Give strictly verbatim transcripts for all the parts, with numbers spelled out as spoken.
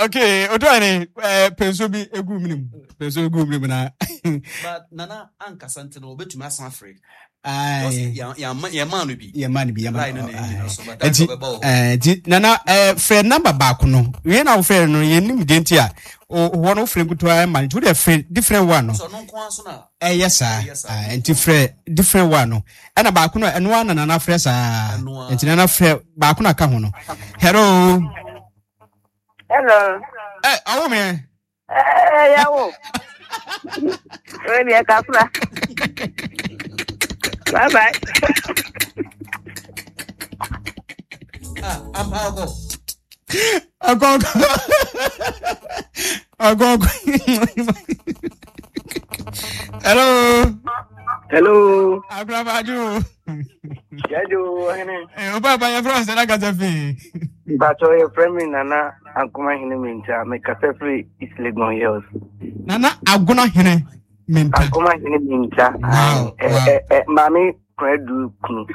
Okay, otu ani eh penso bi egu mu nim. Penso egu mu nim na. But Nana ankasa nti no obetumi asan afrɛ. Aye. Yɛma no bi. Yɛma no bi, yɛma Line no. no na ɛnyina Aye. so, but Nti that's ɔbɛba wɔ hɔ. eh nti Nana eh frɛ number baako no. Wie na wofrɛ no yɛnim deɛ nti a o hɔ no wofrɛ nkutoa ma no. Nti wode frɛ different one no. So ɔno nko ara so na Ɛyɛ saa. Ɛyɛ saa. Ah, nti frɛ different one no. Ɛna baako no ɛno ara na Nana frɛ saa. Ɛno ara. Nti Nana frɛ baako na ka ho no. Hello. Hello. Eh, awo me. Eh, yawo. Wei deɛ kafra. Bye bye. Ah, ampa ɔkɔ. Akɔ akɔ akɔ. Hello. Hello. Akrabaju. Yajo hene. Eh, o papa yɛ frɛ sɛ na kasa fi. Mpacho yɛ frɛ me Nana Ankoma Hene Minta. Me kasa firi East Legon Hills. Nana Agona Hene Minta. Ankoma Hene Minta. Wow, Eh, wow. eh, eh, Maame Kwadu kunu.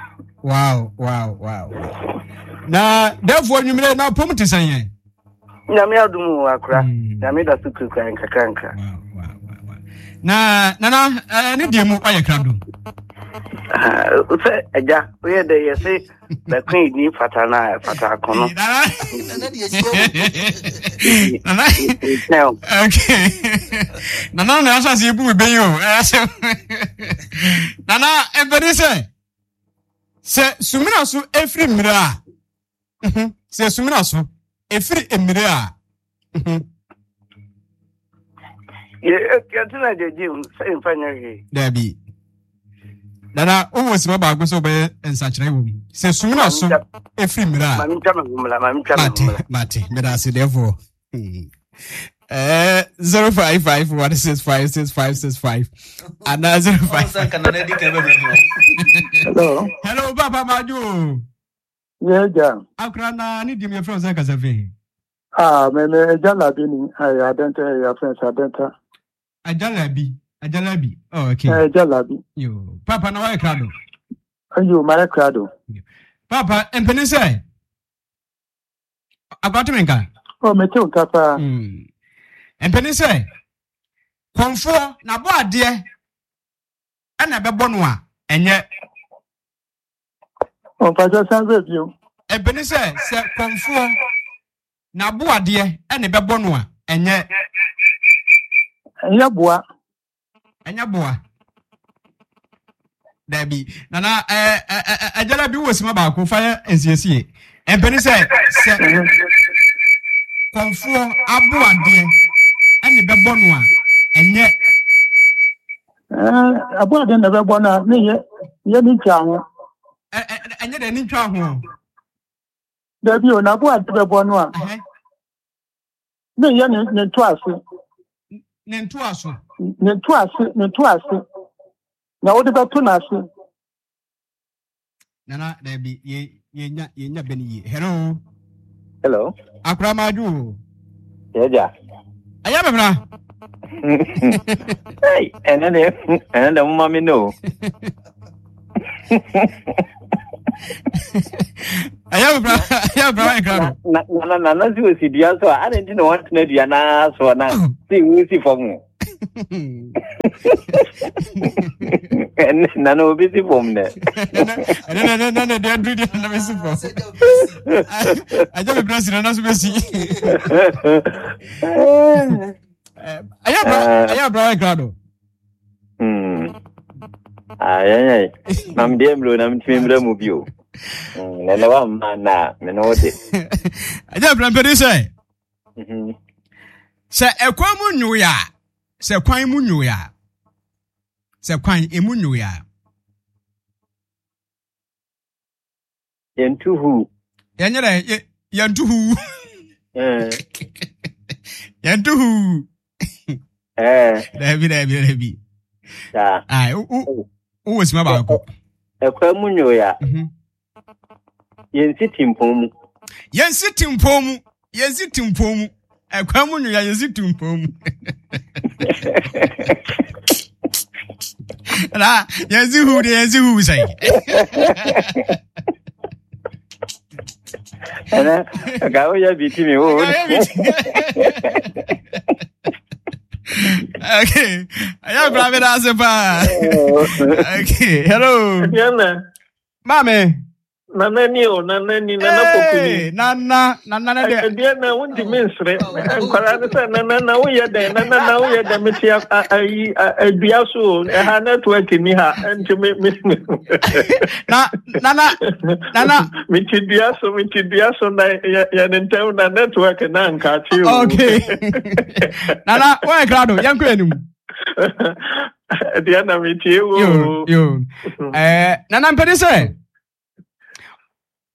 Wow, wow, wow. Na therefore nwumire na pom te sɛn yɛn. Nyame adom o akora. Mm. Nyame da so kurakura nkakra nkra. Wow, wow, wow, wow. Na Nana eh, ne deɛ mu ɔyɛ krado. Ah, Sɛ agya woyɛ dɛ yɛse bɛko ni fata na fata akono. Nana. Nana deɛ si wɔ. Nana. Nkyɛn o. Okay. Nana na ahyɛ ase ebu mi bɛyi o. Ɛyɛ asɛm. Nana ebɛni sɛ sɛ sumina so efiri mmiri a mhm, sɛ sumina so efiri mmiri a mhm, Yɛ yɛte na gyegye mu sɛ mfa nyɛ hwee. Dabi. Nana wowɔ sima baako sɛ wobɛyɛ nsakyerɛ wɔ mu sɛ sumina so efiri mmiri a. Maame ntwa me ho mmra, maame ntwa me ho Mate, mmra. mate, meda ase therefore. Hmm. Eh, zero five five one six five six five six five. Ana zero five. Ɔno sɛ nka Nana di kan bɛhurahura. Hello. Hello, Papa Maju. Yeah, ja. Akra na ni dim your friends kasa fi. Ah, me me eja labi ni ay adenta ya friends adenta. Ajalabi, Ajalabi. Oh, okay. Eh, eja labi. Yo, Papa na why krado. Ayo, mare krado. Papa, empene sɛ Akwate menka. Oh, me te nka pa. Hmm. Empene sɛ kɔmfoɔ na bɔ adeɛ ɛna ɛbɛbɔ no a ɛnyɛ. On pa san be bio. Empene sɛ sɛ kɔmfoɔ na bo adeɛ ɛna ɛbɛbɔ no a ɛnyɛ. Enye boa. Ɛnyɛ boa. Dabi. Nana ɛɛ ɛɛ ɛgyala bi wɔ sima baako fa yɛ nsiesie. Empene sɛ sɛ kɔmfoɔ abo adeɛ ɛna ɛbɛbɔ no a ɛnyɛ. Eh, abo ade na be bo na ne ye ye ni twa ho. Ɛ ɛ ɛnyɛ dɛ ne ntwa ho. Da bi o na abo ade be bo no a. Ɛhɛn. Ne ye ne ne to ase. Ne ntoa so. Ne to ase, ne to ase. Na wo de be to na ase. Nana dabi yɛ yɛnya yɛnya bɛ ne yie. Hello. Hello. Akora maadwo. Yɛgya. Ɛyɛ bɛbra. Hey, ɛnɛ de ɛnɛ de moma me no. Ɛyɛ bɛbra ɛyɛ bɛbra wayɛ krado. Na na na na si osi dua so a, adɛn nti na wɔntena dua naa so na si wo si fam o. Ɛnɛ na na obi si fam dɛ. Ɛnɛ nɛ nɛ nɛ deɛ aduru deɛ na bɛsi fam. Sɛ gya obi si. Ɛgya bɛbra si na na so bɛsi. Ɛyɛ bɛbra ɛyɛ bɛbra wayɛ krado. Hmm. Ah, yɛn yɛn. Na mede mmerɛ na metumi mmerɛ mu bio. Hmm, na ɛnɛ wamma na me ne wo de. Ɛgya bɛbra mpɛni sɛ Mhm. sɛ ɛkwan mu nwoe a sɛ kwan mu nwoe a sɛ kwan emu nwoe a Yɛntu hu. Yɛnyɛ dɛ yɛ yɛntu hu. Eh, Yɛntu hu. eh, Dabi dabi dabi. saa. Ai wo wo wowɔ sima baako. Ɛkwan mu nwoe a, Mhm. yɛnsi timpɔn mu. Yɛnsi timpɔn mu yɛnsi timpɔn mu ɛkwan mu nwoe a yɛnsi timpɔn mu na yɛnsi hu de yɛnsi hu sɛn. Ɛnɛ nka woyɛ bi ti mi wo. Okay. Ɛyɛ akora mi da ase paa. Okay. Hello. Diana. Maame. Nana ni o, nana ni, nana pokuni. Nana, nana ne de. Diana, wontumi nsere. Nkwaraa no sɛ nana na woyɛ dɛn, nana na woyɛ dɛn, mete ayi adua so o, ɛha network ni ha, nti me me. Na nana nana. Mete dua so, mete dua so na yɛ yɛ ne ntɛm na network na nkaakye o. Okay. Nana, wɔyɛ krado, yɛn kɔ anim. Diana, metie wo. Yo, yo. Eh, nana mpɛde sɛ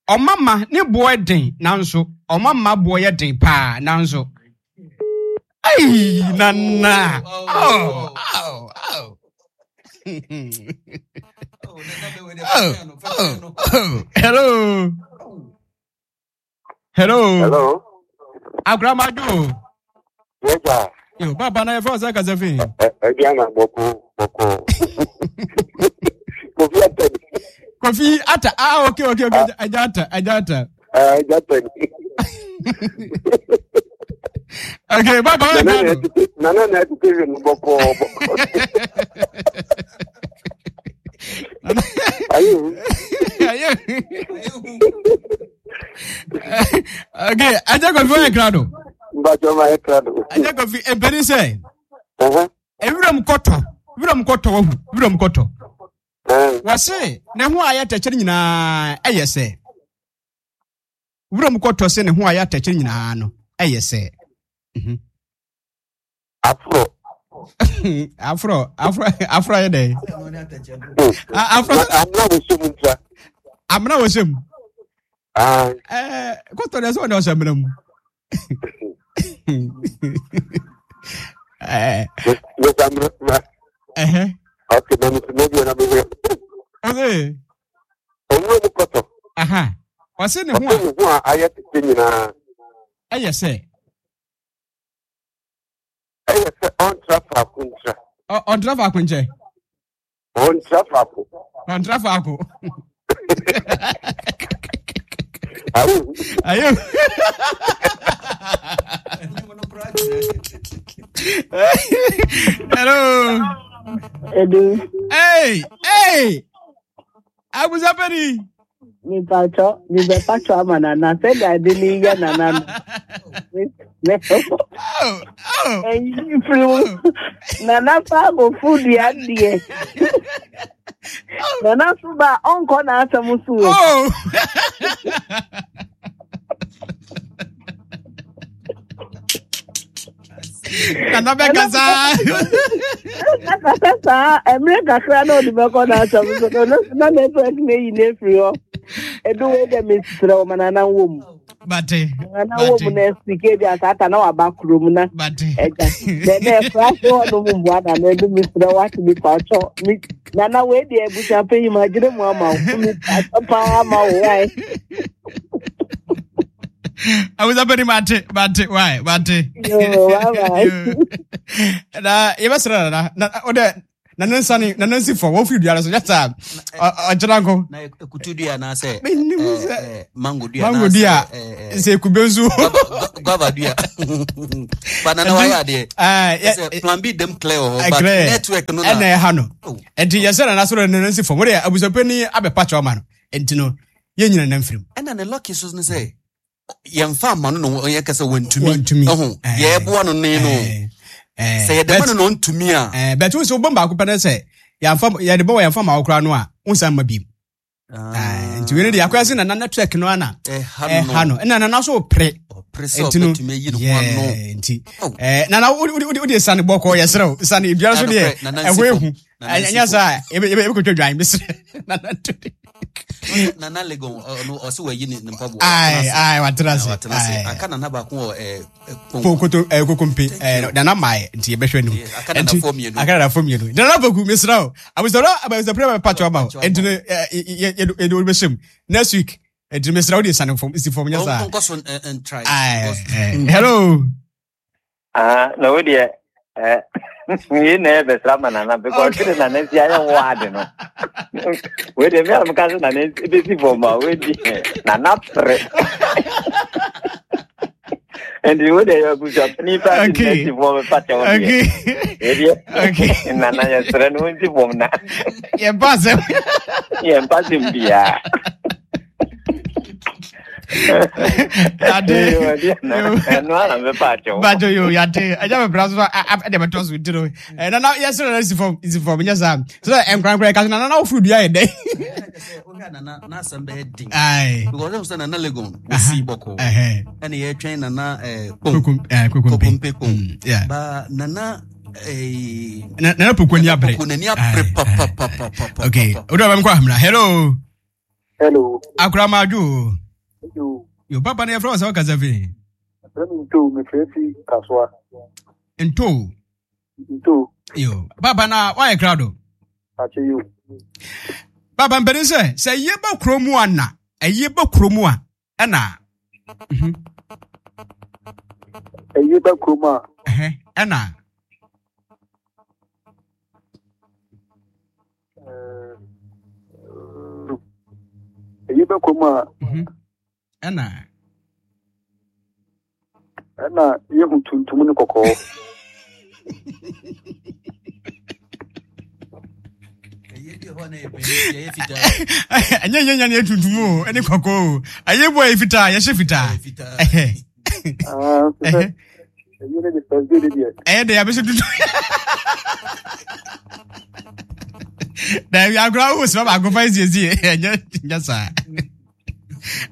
ɔmama ne boɔ den nanso ɔmama boɔ yɛ den paa nanso. Ai, nana. Oh, oh, oh. Oh, oh, oh. Hello. Hello. Hello. Akramado. Yeja. Yo, baba na yɛfrɛ wo sɛ kasa fi. Aduana bɔkɔ bɔkɔ. Kofi Atani. Kofi Ata. Ah, okay, okay, okay. Aja Ata, Aja Ata. Ah, Aja Atani. Okay, baba wa Nana na ɛtete nana na ɛtete hwɛ no bɔkɔ bɔkɔ. Ayo. Ayo. Okay, Aja Kofi wa krado. Mbacho ma krado. Aja Kofi ebeni sɛ. Ewuram kɔtɔ, wuram kɔtɔ wahu, wuram kɔtɔ. Wɔse ne ho a ayɛ atɛkyɛ no nyinaa ɛyɛ sɛ. Wuram kɔtɔ sɛ ne ho a ayɛ atɛkyɛ no nyinaa no ɛyɛ sɛ. Afro. Afro, afro, afro ayɛ dɛ. Afro. Amena wɔ sɛm ntra. Amena wɔ sɛm. Ɛɛ kɔtɔ deɛ sɛ ɔde ɔhyɛ amena mu. Ɛɛ. Ɛhɛ. Okay, na mi maybe na mi hwɛ. Ɔse. Owurɔ mu kɔtɔ. Aha. Ɔse ne ho a. Ɔse ne ho a ayɛ tete nyinaa. Ɛyɛ sɛ. Ɛyɛ sɛ ɔntra faako ntra. Ɔntra faako nkyɛ. Ɔntra faako. Ɔntra faako. Ayo. Ayo. Hello. Edu. Hey, hey. Abusapeni. Mipatɔ, mibɛpatɔ ama nana sɛdeɛ ade ne yɛ nana no. Ɛyi firi mu. Nana fa akɔfo dua deɛ. Nana so ba ɔnkɔ n'asɛm so o. Nana bɛkasa. Bɛkasa saa mmerɛ kakra na ɔde bɛkɔ n'asɛm so no no na network no ayi no afiri hɔ. Ɛdu wei dɛ mesrɛ wo ma nana nwɔ mu. Bate. Nana wɔ mu na sike bi asata na waba kurom na. Bate. Ɛgya. Dɛ na ɛfra so hɔ nom mboa nana ɛdu mesrɛ wo ate mepa kyɔ. Nana wei deɛ abusua panyin ma gyina mu ama wo. Mepa paa ma wo wae. Abusapɛni mate mate wae mate. Yo, bye bye. Na yɛbɛsrɛ nana na wodɛ na ne nsa ne na ne nsi fam wɔfiri dua no so nyɛ saa ɔgyina nko. Na ekutu dua anaasɛ menim sɛ mango dua mango dua sɛ kube nso guava dua ba nana wayɛ adeɛ sɛ plan B dem clear wɔ hɔ but network no na ɛna ɛha no nti yɛsɛ nana soro ne nsi fam wode abusapɛni abɛpa kyɛw ma no nti no yɛn nyina nam firim. Ɛna ne lucky so ne sɛ yɛmfa ama no na ɔyɛ kɛsɛ wantumi wantumi ɛho deɛ ɛboa no ne no sɛ yɛde ma no na ɔntumi a. Bɛtɛ wo sɛ wobɔ baako pɛ no sɛ yɛmfa yɛde bɔ wɔ yɛmfa ma wo koraa no a wonsan ma biem nti wei no deɛ akɔyɛ sɛ nana network no ana ɛha no ɛna nana so pere nti no nti nana wode sane bɔkɔ yɛserɛ wo sane biara so deɛ ɛhɔ ehu ɛnyɛ saa yɛbɛkɔtwa dwan mesrɛ nana ntode nana legon ɔno ɔsɛ wayi ne mpaboa ai ai watena ase watena ase aka nana baako wɔ ɛɛ kokoto ɛɛ kokompe ɛɛ nana maaɛ nti yɛbɛhwɛ no aka nana fɔ mmienu aka nana fɔ mmienu nana poku mesrɛ wo abusɔrɔ abusɔrɔ bɛ patro ama wo nti no yɛ yɛ yɛ yɛ bɛhyɛ mu next week nti mesrɛ wo de sane fam si fam nyɛ saa ɔnkɔ so ntry hello ah na wo deɛ eh Yi na ɛbɛsra ma nana because okay. Nana si ayɛ wɔ ade no. Wei de mi a meka sɛ nana bɛsi fam a wei di nana pere. Nti wo de yɛ abusuapani pa si na si fam pa kyɛw deɛ. Wei deɛ nana yɛsrɛ no nsi fam na. Yɛmpa asɛm. Yɛmpa asɛm biara. Yade. Ɛno ara mɛpa akyɛw. Bajo yo yade. Ɛgya mɛ bra so ɛde bɛtɔ so nti no. Nana yɛsrɛ no si fam si fam nyɛ saa. Sɛ nkorankora ɛka so nana na wofuru dua yɛ dɛ. Wohwɛ nana n'asɛm bɛyɛ den. Aye. Because ɛhu sɛ nana Legon wɔsii bɔkɔɔ. Ɛna yɛtwɛn nana Kokompe kpom. Ba nana nana Poku ani abere. Poku n'ani abere papapapapa. Okay. Odu abam kɔ ahemra. Hello. Hello. Akora madwo. Hello. Yo papa na yɛfrɛ wo sɛ wokasa fi. Frɛ me Nto, mefrɛ fi Kasoa. Nto. Nto. Yo papa na woayɛ krado. Akyɛ yo. Papa mpanin sɛ sɛ yie ba kuro mu a na ɛyie ba kuro mu a ɛna. Ɛyie ba kuro mu a. Ɛna. Ɛyie ba kuro mu a. Ɛna. Ɛna yɛhu tuntum ne kɔkɔɔ. Ɛnyɛ nyɛ nyɛ ne tuntum o ɛne kɔkɔɔ o ɛyɛ bu a yɛ fitaa yɛhyɛ fitaa. Ɛyɛ de yɛbɛhyɛ tuntum. Daabi agorɔ awo sima baako fa esiesie ɛnyɛ nyɛ saa.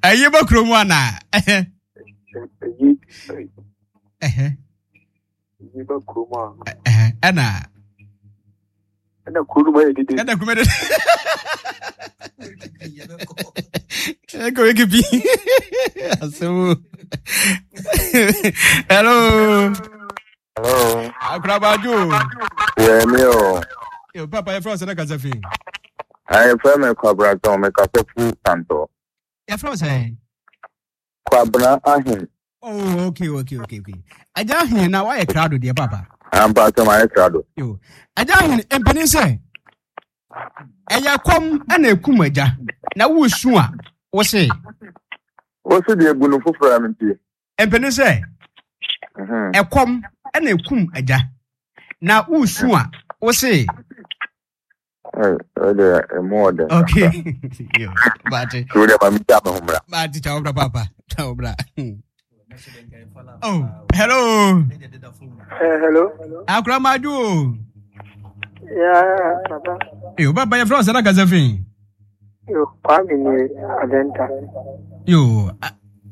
Ɛyɛ bɔ kurom ana. Ɛyɛ bɔ kurom a. Ɛna. Ɛna kuro no mu ayɛ dede. Ɛna kuro mu ayɛ dede. Ɛkɔ weke bi. Asɛm. Hello. Hello. Akorabadwo. Yɛ mi o. Yo papa yɛ fɛ sɛ na kasa fi. Ayɛ fɛ mi Kwabena tɔn mi kasa fu Santɔ. Yɛ fɛ sɛ. Kwabena Ahen. Oh, okay, okay, okay, okay. Agya Ahen na wayɛ krado deɛ papa. Ampa sɛ mayɛ krado. Yo. Agya Ahen mpanin sɛ ɛyɛ kɔm ɛna ekum agya na wosu a wose. Wose deɛ egu no foforɔ a mentie. Mpanin sɛ ɛkɔm ɛna ekum agya na wosu a wose. Okay. Yo, bate. Bate, ciao bra papa. Ciao bra. Oh, hello. Uh, hello. Akura maju. Yeah, papa. Yo, papa, you from Sana Kazafin? Yo, Kwame ni Adenta. Yo,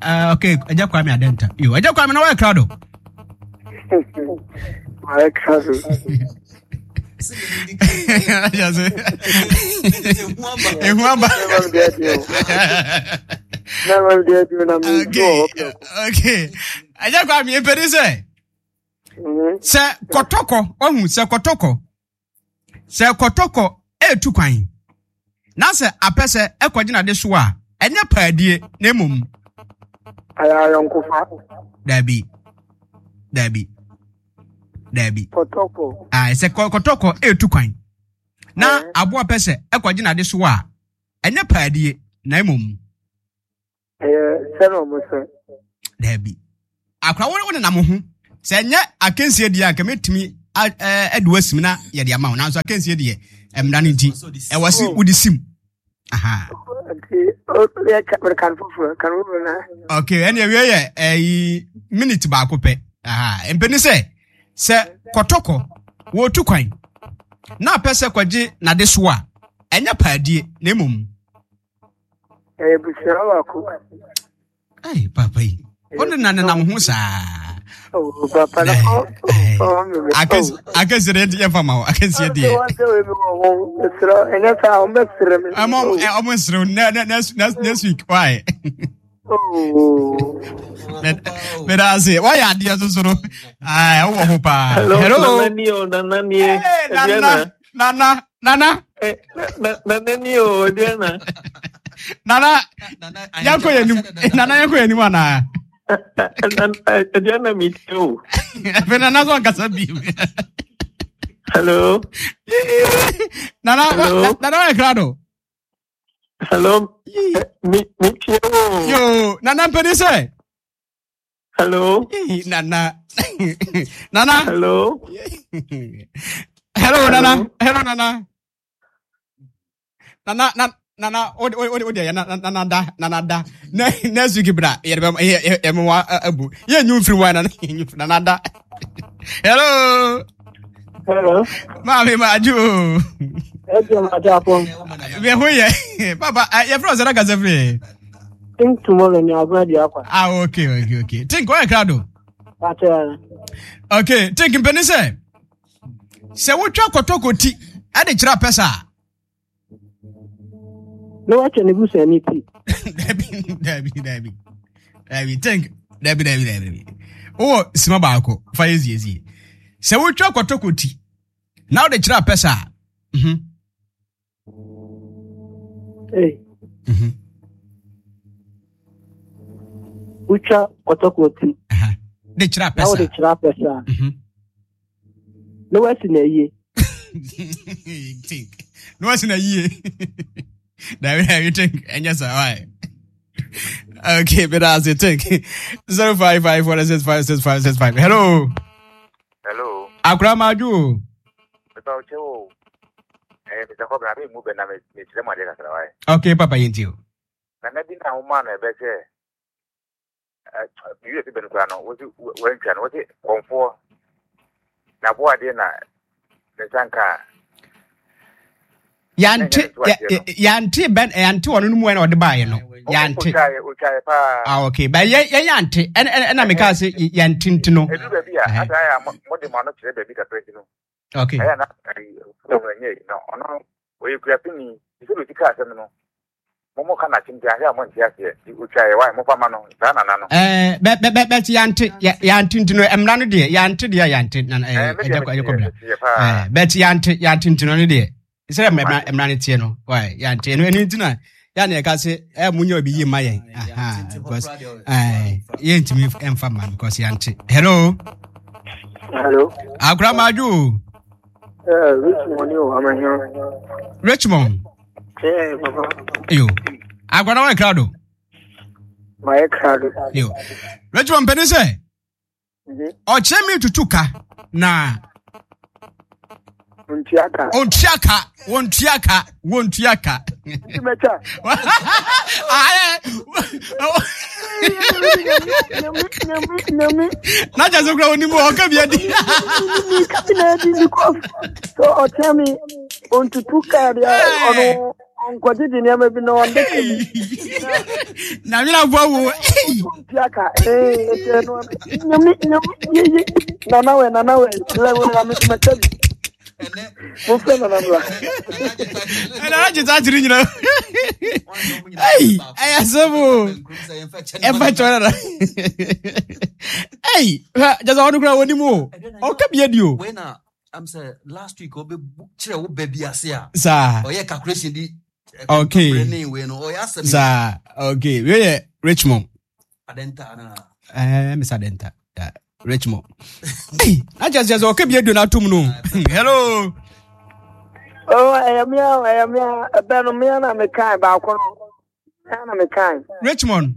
uh, okay, Aja Kwame Adenta. Yo, Aja Kwame na wa krado. Wa krado. Ehu aba. Okay. Aja Kwame mpɛni sɛ sɛ kɔtɔkɔ ɔhu sɛ kɔtɔkɔ sɛ kɔtɔkɔ etu kwan na sɛ apɛ sɛ ɛkɔgyina de so a ɛnyɛ paadie na mmom. Ayɛ ayɔnkofa. Dabi dabi dabi. Kɔtɔkɔ. Ah, sɛ kɔtɔkɔ etu kwan na aboa pɛ sɛ ɛkɔgyina de so a ɛnyɛ paadie na mmom. Ɛyɛ sɛ na ɔmo sɛ. Dabi. Akora wo ne nam ho sɛ ɛnyɛ akansie deɛ anka mɛtumi ɛde wasim na yɛde ama wo nanso akansie deɛ mmara no nti ɛwɔ se wode sim. Aha. Okay, ɛne awie yɛ ɛyi minute baako pɛ. Aha, mpɛni sɛ sɛ kɔtɔkɔ wɔtu kwan na apɛ sɛ kɔgye n'ade so a ɛnyɛ paadie na mmom. Ɛyɛ busua baako. Hey, papa yi. Ɔne na nenam ho saa. Oh, papa na Akansie deɛ yɛmfa ma wo. Akansie deɛ. Ɛnyɛ saa, ɔmo bɛsrɛ me. Ɔmo ɔmo nsrɛ wo next next week why? Meda ase. Wayɛ adeɛ soso no. Ai, wowɔ ho paa. Hello. Nana ni o, nana ni e. Nana, nana, nana. Nana ni o, Diana. Nana, yɛnkɔ yɛn anim. Nana yɛnkɔ yɛn anim anaa? Diana mi ti o. Ɛfɛ nana sɔ nkasa bi. Hello. Nana, Hello. Nana wayɛ krado. Hello. Me me tie o. Yo, Nana mpɛni sɛ. Hello. Nana. Nana. Hello. Hello, Nana. Hello, Nana. Nana, Nana. Nana, o o o de nana nana da nana da ne next week bra yɛ bɛ yɛ yɛ mo wa abu yɛ nyu firi wa nana nyu nana da. Hello. Hello. Maame ma aju. Ejo ma ja pon. Bɛ ho yɛ papa yɛ fɛ ɔsɛ kasa firi. Think tomorrow ni agwa di akwa. Ah, okay okay okay. Think ɔyɛ krado. Pata. Okay, think mpɛni sɛ sɛ wotwa kɔtɔkɔ ti ɛde kyerɛ apɛ saa. Na wakyɛ ne busuani ti. Dabi dabi dabi dabi think dabi dabi dabi wowɔ sima baako fa yɛ ziezie sɛ wotwa kɔtɔkɔ ti na wode kyerɛ apɛ saa. Mhm. Hey. Mhm. Wotwa kɔtɔkɔ ti. De kyerɛ apɛ Na saa. wode kyerɛ apɛ saa. Mhm. Na wasi na yie. Think na wasi na yie. Dabi dabi think ɛnyɛ saa why. Okay, but as you think zero five five four six five six five six five. Hello. Hello. Akura Maju. Mepa wo kyɛw o. Eh, Mister Kobra, me mu bɛ na me me kyerɛ mu adeɛ kakra wae. Okay, papa yɛnti o. Nana bi na woma no ɛbɛ sɛ eh, me wie fi bɛn koraa no, wosi wantwa no, wosi kɔmfoɔ na aboa adeɛ na ne nsa nka a. Yante yante bɛn yante ɔno no mu ɛna ɔde baayɛ no. Yante. Otwaeɛ otwaeɛ paa. Ah, okay. Ba yɛ yɛ yante ɛna ɛna meka sɛ yante nti no. Edu baabi a asa ayɛ a mo de mo ano kyerɛ baabi kakra nti no. Okay. Ɛyɛ na ɛnyɛ yi no ɔno ɔyɛ kuapini sɛ osi kaa asɛm no. Mo mo ka na kyem ahwɛ a mo nte aseɛ otwaeɛ wae mo fa ma no saa nana no. Eh, bɛ bɛ bɛ bɛ yante yante nti no mmra no deɛ yante deɛ yante na ɛɛ ɛgya ɛgya kɔbra. Eh, bɛ yante yante nti no ne deɛ sɛ mmra mmra no teɛ no wae yante ɛno ɛno nti na ya na ɛka sɛ ɛ mo nyɛ obi yie ma yɛn aha because ɛɛ yɛntumi ɛmfa ma because yante. Hello. Hello. Akora Maju. Eh, Richmond yo, amahia. Richmond. Eh, papa. Yo. Akora na wa krado. Ma ye krado. Yo. Richmond pɛni sɛ. Ɔkyerɛ mi tutu ka na. Ontua ka. Ontua ka. Ontua ka. Ontua ka. Mɛtwa. Ayɛ. Na kyerɛ sɛ kura onim ɔka bi adi. Ka bi na adi because so ɔkyerɛ mi ontutu ka deɛ ɔno ɔnkɔgyegye nneɛma bi na ɔnde ka bi. Na nwena boa wo. Ontua ka. Ee, ɛkyerɛ no nyame nyame yeye nana wɛ nana wɛ lɛwɛ na mi mɛtwa bi. Mo fẹ́ nana mla. Ɛna agye saa kyerɛ nyina. Ei, ɛyɛ asɛm o. Ɛfa kyɛw nana. Ei, hwɛ gyɛ sɛ ɔno kura wɔnim o. Ɔka bi adi o. Wei na am sɛ last week ɔbɛ kyerɛ wo baabi ase a. Saa. Ɔyɛ calculation di. Okay. Ne wei no ɔyɛ asɛm. Saa, okay. Wei yɛ Richmond. Adenta na. Eh, Mister Adenta. Yeah, Richmond. Ei, na kyerɛ sɛ ɔka bi adi na atom no. Hello. Oh, ɛyɛ mea, ɛyɛ mea, ɛbɛn no mea na mekae baako no. Mea na mekae. Richmond.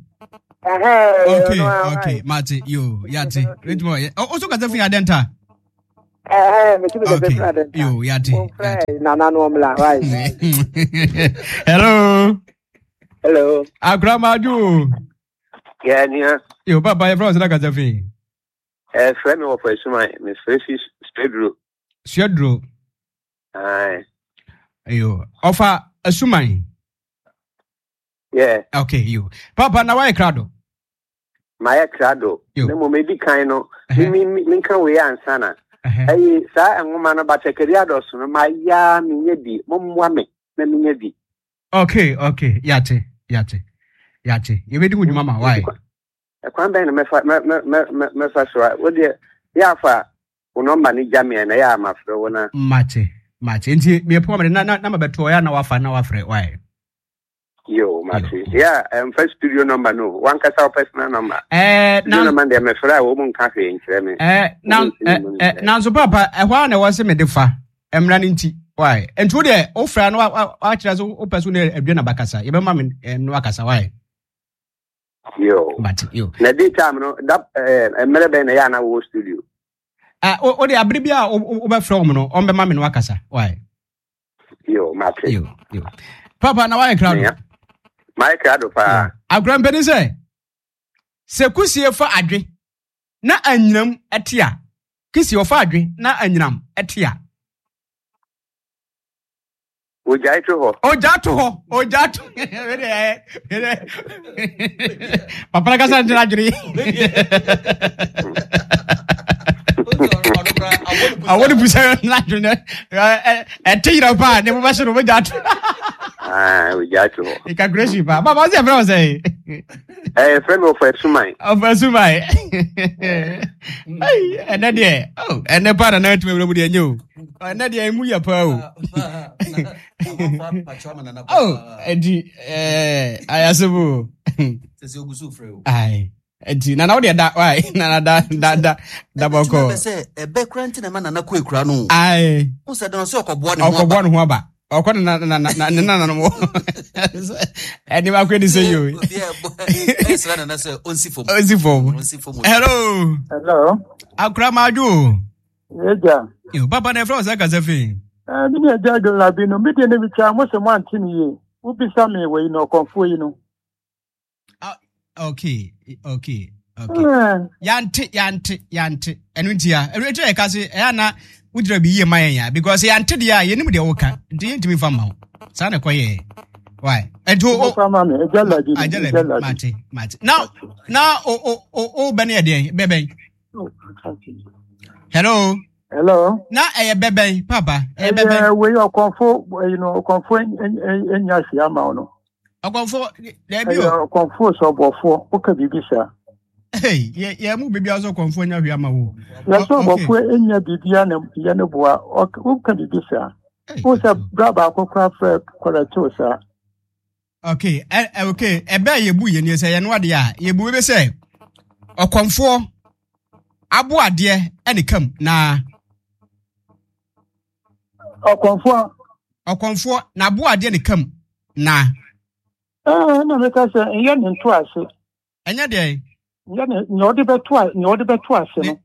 Ɛhɛn. Okay, okay. Mate, yo, yate. Richmond. Oh, also kasa fi Adenta. Ɛhɛn, metumi kasa Okay. fi Adenta. Yo, yate. Momfrɛ nana no ɔmmla, right. Hello. Hello. Akura Maju. Yeah, nia. Yo, papa, yɛ frɛ wo sɛ na kasa fi. Eh, frɛ me wɔ fa asuma, me frɛ fi Suaduro. Suaduro. Aye. Yo, ɔfa asuman. Yeah. Okay, yo. Papa, na wayɛ krado? Mayɛ krado. Yo. Na mmom edi kan no, me me me nka wei ansa na. Ɛyi saa nwoma no batakari adɔso no mayɛ a menyɛ bi. Mommoa me na menyɛ bi. Okay, okay. Yate, yate. Yate. Yɛbɛdi ho dwuma ma why? Ɛkwan bɛn na mɛfa mɛ mɛ mɛ mɛfa so a wo deɛ yɛ afa wo nɔmba no gya me na yɛ a mafrɛ wo na. Mate, mate. Nti mepɔ me na na na mabɛto ɔyɛ na wafa na wafrɛ why? Yo, mate. Yeah, um, first studio number no. One kasa wo personal number. Eh, studio na number deɛ mefrɛ a wo mu nka hwee nkyerɛ me. Eh, na eh, eh, nanso papa, ɛhɔ a na ɛwɔ sɛ mede fa. Mmara no nti why nti wo deɛ wofra no wakyerɛ so wopɛ so ne adua na bakasa yɛbɛma me eh, no akasa why yo but yo na day time no da eh, mmerɛ bɛn na ɛyɛ ana wɔ studio? Ah, wo deɛ abere bi a wobɛfrɛ wɔm no, ɔmbɛma me no akasa why. Yo, mate. Yo, yo, papa na wayɛ krado. Mayɛ krado paa. Akora mpanin sɛ sɛ kusie fa adwe na anyinam ɛte a, kusie ɔfa adwe na anyinam ɛte a, ogyae to hɔ. Ogya to hɔ, ogya to. Papa na kasa nkyerɛ adwene. Awɔ ne busa n'adwene ɛte yira paa ne mo bɛhyɛ no ogya to. Ogya to hɔ. Calculation paa. Baba ɔsi ɛfrɛ wɔ sɛ. Ɛyɛ fɛ mi ɔfɔ ɛsuman. Ɔfɔ ɛsuman. Ɛnɛ deɛ ɛnɛ paa na nan tuma wura mu deɛ nye o. Ɛnɛ deɛ emu yɛ paa o. Oh, ɛnti ɛɛ ayasɛm o. Sɛ ogu so frɛ o. Ayi, ɛnti nana wo deɛ da wae nana da da da da bɔkɔ. Ɛbɛ sɛ ɛbɛ kura nti na ma nana kɔ ekura no. Ayi. O sɛ dɔn sɛ ɔkɔboa ne ho aba. Ɔkɔboa ne ho aba. Ɔkɔ ne na na na ne nana no mo. Ɛni ma kɔ edi sɛ yi o. Ɛsrɛ nana sɛ ɔnsi fam. Ɔnsi fam. Ɔnsi fam. Hello. Hello. Akura maa dwo o. Eja. Yo, papa na ɛfrɛ wo sɛ kasa fi. Eh, me ne agya Adwolabi no, me deɛ ne metwa mo sɛ moante ne yie. Wobisa me wɔ yi no, ɔkɔmfoɔ yi no. Ah, okay, okay, okay. Yante, yante, yante. Ɛno nti a, ɛno nti a yɛka se, ɛyɛ na wogyina bi yie ma yɛn ya, because yante deɛ a, yɛnim deɛ woka, nti yɛntumi mfa mma wo. Saa na ɛkɔyɛɛ. Why? Ɛnti o, o, Agya Labi, mate, mate. Na, na o, o, o, o bɛ ne yɛ deɛn, bɛbɛn. Hello. Hello. Na ɛyɛ bɛbɛn papa. Ɛyɛ bɛbɛn. Ɛyɛ wei ɔkɔnfo ɛyi no ɔkɔnfo enya si ama wo no. Ɔkɔnfo dɛbi o. Ɛyɛ ɔkɔnfo sɛ ɔbɔfoɔ woka biribi saa. Hey, yɛ yɛ mu biribi asɔ ɔkɔnfo enya hwee ama wo. Yɛ sɛ ɔbɔfoɔ enya biribi a na yɛ ne boa woka biribi saa. Wo sɛ bra baako kora frɛ kɔrɛtew saa. Okay, ɛ ɛ okay ɛbɛ a yɛbu yɛ nie sɛ yɛn adeɛ a yɛbu bɛ sɛ ɔkɔmfoɔ abo adeɛ ɛne kam na. Ɔkɔmfoɔ. Ɔkɔmfoɔ na abo adeɛ ne kam na. Ɛɛ na meka sɛ ɛnyɛ ne nto ase. Ɛnyɛ deɛ. Ɛnyɛ ne nea ɔde bɛto nea ɔde bɛto ase no.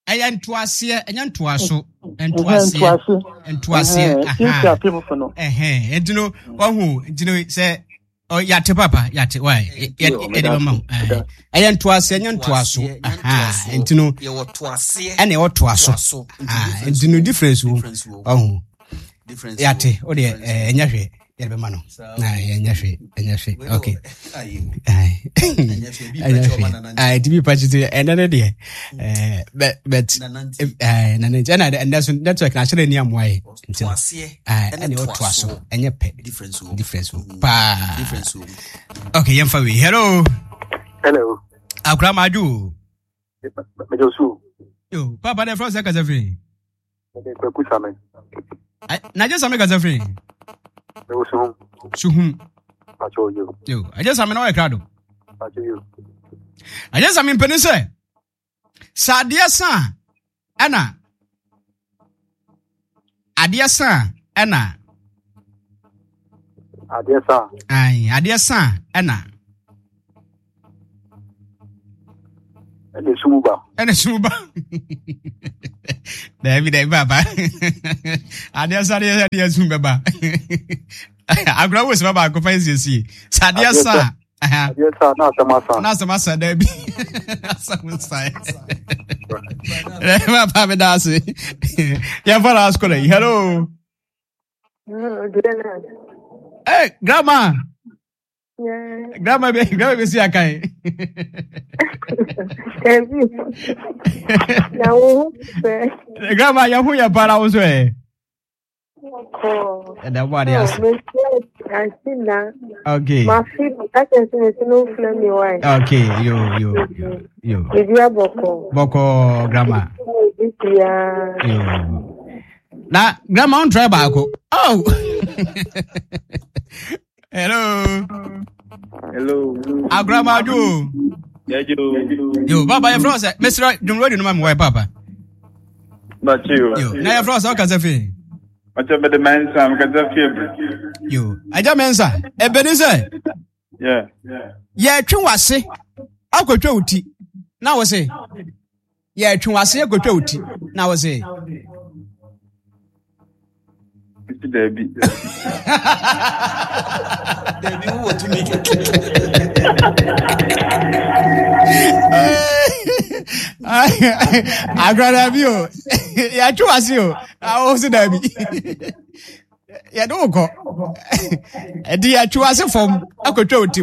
Ɛyɛ ntoaseɛ, ɛnyɛ ntoaso. Ntoaseɛ, ntoaseɛ. Ɛhɛn, nti no wahu, nti no sɛ yate papa yate wa yɛde bɛma wo. Ɛyɛ ntoaseɛ, ɛnyɛ ntoaso. Nti no ɛna ɛwɔ toaso. Nti no difference wo wahu. Yate o deɛ ɛnyɛ hwee. Yɛde bɛma no na ɛnyɛ hwee, ɛnyɛ hwee, okay, ɛnyɛ hwee. Ɛnti bi pakyi ti ɛnɛ ne deɛ but but nana nti ɛna ɛnɛ so network na ahyɛrɛ ni amoa yɛ nti no ɛna ɛwɔ so ɛnyɛ pɛ difference wo paa. Okay, yɛn fa wei. Hello. Hello. Akura maa dwo. Mɛjọ so. Yo, papa de fɛn sɛ kasa firi. Kwaku Same. Na agye Same kasa firi. Ɛwɔ Suhum. Suhum. Pacho yo. Yo, agye Same na ɔyɛ krado. Pacho yo. Agye Same mpanin sɛ sɛ adeɛ sa a ɛna adeɛ sa a ɛna adeɛ sa. Ayi, adeɛ sa a ɛna. Ɛna sum ba. Ɛna sum ba. Daabi daabi papa. Adeɛ sa adeɛ adeɛ sum bɛba. Agorɔ wo sima baako fa nsiesie. Sɛ adeɛ sa. Adeɛ sa na asɛm asa. Na asɛm asa daabi. Asɛm sa. Daabi papa mi da ase. Yɛn fa last caller yi. Hello. Hey, grandma. Yeah. Grandma be grandma be si akan. Na wo fɛ. Grandma ya hu ya para wo so eh. Ko. Ɛda bo ade ase. Asina. Okay. Ma fi ka kyerɛ sɛ mesi no mfrɛ me wae. Okay, yo yo yo yo. Bibi abɔkɔ. Bɔkɔ grandma. Bibia. Yo. Na grandma on try baako. Oh. Hello. Hello. Agrama jo. Yo. Yo, baba yɛ frɛ sɛ mesrɛ dwom radio no ma me wae papa. Bachi. Yo, na yɛ frɛ sɛ ɔkasa fi. Ɔkyɛ bɛde mɛnsa mekasa fie bere. Yo, agya mɛnsa, ɛbɛni sɛ Yeah. yɛtwe w'ase akɔtwa wo ti na wo se yɛtwe w'ase akɔtwa wo ti na wo se Mesi daabi. Dabi wowɔ tumi. Agora daabi o, yɛtwe w'ase o, na wo se daabi. Yɛde wo kɔ. Ɛde yɛtwe w'ase fam akɔtwa wo ti.